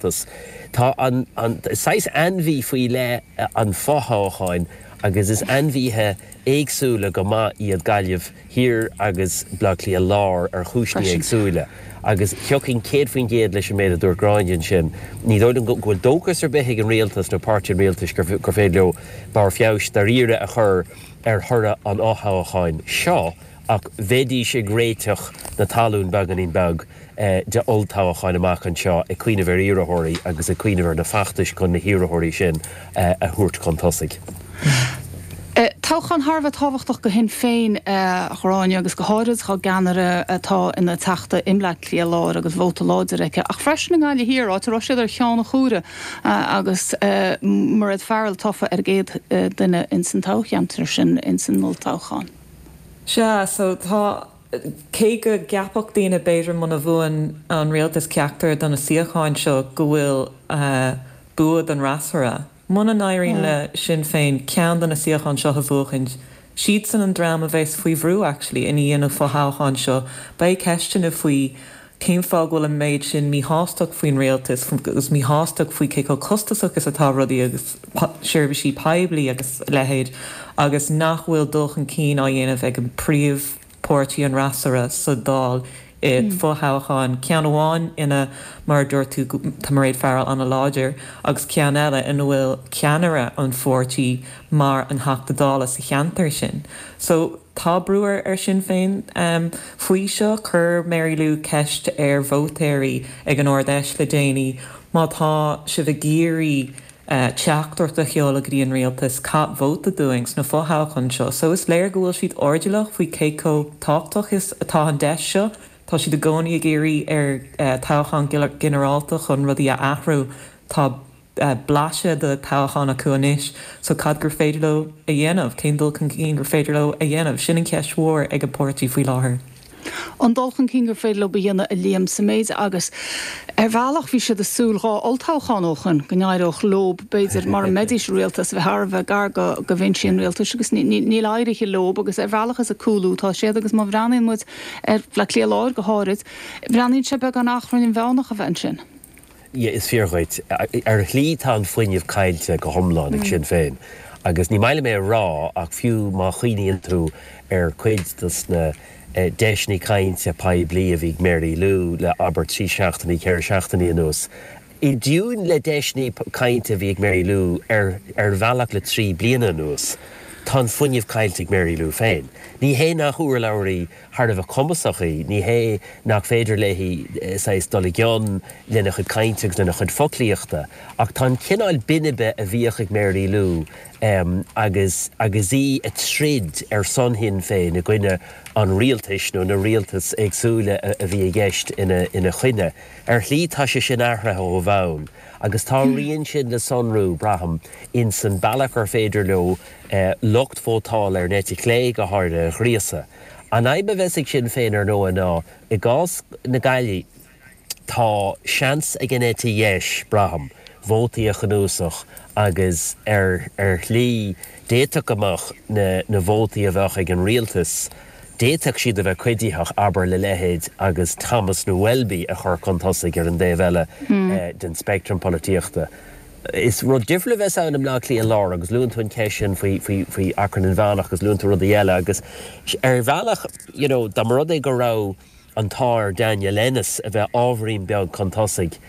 Rialtas. Tá an saghas ainmhí faoi leith an fothoghcháin agus is ainmhithe éagsúla go maith iad Gaillimh Thiar agus Baile Átha Cliath Láir ar chúiseanna éagsúla agus thiocfainn 100% leis an méid a dúirt Gráinne ansin. Ní dóigh liom go bhfuil dóchas ar bith ag an Rialtas nó páirtí an Rialtais gur féidir leo barr feabhais dáiríre a chur ar thoradh an fhothoghcháin seo ach bheidís ag réiteach na talún beagáinín beag d'olltoghcháin amach anseo, ag cuimhneamh ar iarrthóirí agus ag cuimhneamh ar na feachtais chun na hiarrthóirí sin a thabhairt chun tosaigh. Toghchán thar a bheith tábhachtach do Shinn Féin, a Ghráinne, agus go háirid dá gceannaire atá ina Teachta i mBleá Cliath Láir agus vóta láidir aici, ach freisin i nGaillimh Thiar, áit a raibh siad ar cheann an chomhairimh agus Mairéad Farrell tofa ar an gcéad duine ins an toghcheantar sin ins an olltoghchán. Sea, so tá, cé go gceapfadh daoine b'fhéidir muna bhuann an rialtas ceachtar de na suíocháin seo go bhfuil bua don fhreasúra, muna n-éiríonn le Sinn Féin ceann de na suíocháin seo a bhuachaint, siadsan an dream a bheas faoi bhrú actually i ndiaidh na fothoghcháin seo. Beidh ceisteanna faoi cén fáth go bhfuil an méid sin míshástacht faoin rialtas agus míshástacht faoi cé chomh costasach is atá rudaí agus seirbhísí poiblí agus a leithéid agus nach bhfuil dul chun cinn á dhéanamh ag an príomhpháirtí, an fhreasúra, sa Dáil i fothoghcháin, ceann amháin ina, mar a dúirt tú, tá Mairéad Farrell an-láidir agus ceann eile ina bhfuil ceannaire an pháirtí mar an Theachta Dála sa cheantar sin. So. Tá brú ar Sinn Féin faoi seo. Chuir Mary Lou ceist ar vótóirí ag an Ard-Fheis le déanaí, má tá sibh ag iarraidh teachtaireacht a sheoladh go dtí an rialtas, caith vóta dúinn sna fothoghcháin seo. So is léir go bhfuil siad airdeallach faoi cé chomh tábhachtach is atá an deis seo. Tá siad i gcónaí ag iarraidh ar toghchán ginearálta chun rudaí a athrú. Tá. blaiseadh de thoghchán acu anois so cad gur féidir leo a dhéanamh, cén dul chun cinn gur féidir leo a dhéanamh? Sin an cheist mhór ag an bpáirtí faoi láthair. An dul chun cinn gur féidir leo a dhéanamh, a Liam, sa méid agus ar bhealach bhí siad ag súil 2 olltoghchán ó shoin go n-éireodh leo b'fhéidir mura mbeidís i rialtas a bheith thar a bheith gar go bhinsí an rialtais agus níl éirithe leo agus ar bhealach is ag cúlú atá siad agus má bhreathnaíonn muid ar Bhleá Cliath Láir go háirid breathnaíonn sé beagán achrann inmheánach a bheith ansin. Yeah, is fíor dhuit. Ar shlí tá an fuinneamh caillte go hiomlán ag Sinn Féin. Agus ní maith liom é a rá ach fiú má chuimhníonn tú ar cuid dos na deiseanna cainte poiblí a bhí ag Mary Lou le abair 3 seachtainí, 4 seachtainí anuas, i dtiúin le deiseanna cainte a bhí ag Mary Lou ar ar bhealach le 3 bliana anuas, tá an fuinneamh caillte ag Mary Lou féin. Ní hé nach urlabhraí thar a bheith cumasach í. Ní hé nach féidir léi saghas dul i gcion lena chuid cainte agus lena chuid foclaíochta, ach tá an cineál binbe a bhíodh ag Mary Lou agus agus í ag troid ar son Shinn Féin i gcoinne an rialtais nó na rialtas éagsúla a bhí i gceist ina choinne, ar shlí tá sé sin athraithe ó bhonn agus tá a rian sin le sonrú, braithim, ins an bealach ar féidir leo lucht vótála ar an eite chlé go háirithe a ghríosadh. An fhadhb a bheas ag Sinn Féin ar ndóigh ná, i gcás na Gaillimhe, tá seans ag an eite dheis, braithim, vótaí a chnuasach agus ar ar shlí d'fhéadfadh go mbeadh na na vótaí a bheadh ag an rialtas, d'fhéadfadh siad a bheith cuiditheach, abair, le leithéid agus Thomas nó Welby a chur chun tosaigh ar an dtaobh eile den speictream polaitíochta. Is rud difriúil a bheas ann i mBleá Cliath Láir agus luann tú an cheist sin faoi, faoi, faoi achrann inmheánach agus luann tú rudaí eile agus ar bhealach, you know, dá mba rud é go raibh an t-ádh ar Daniel Ennis a bheith ábhairín beag chun tosaigh.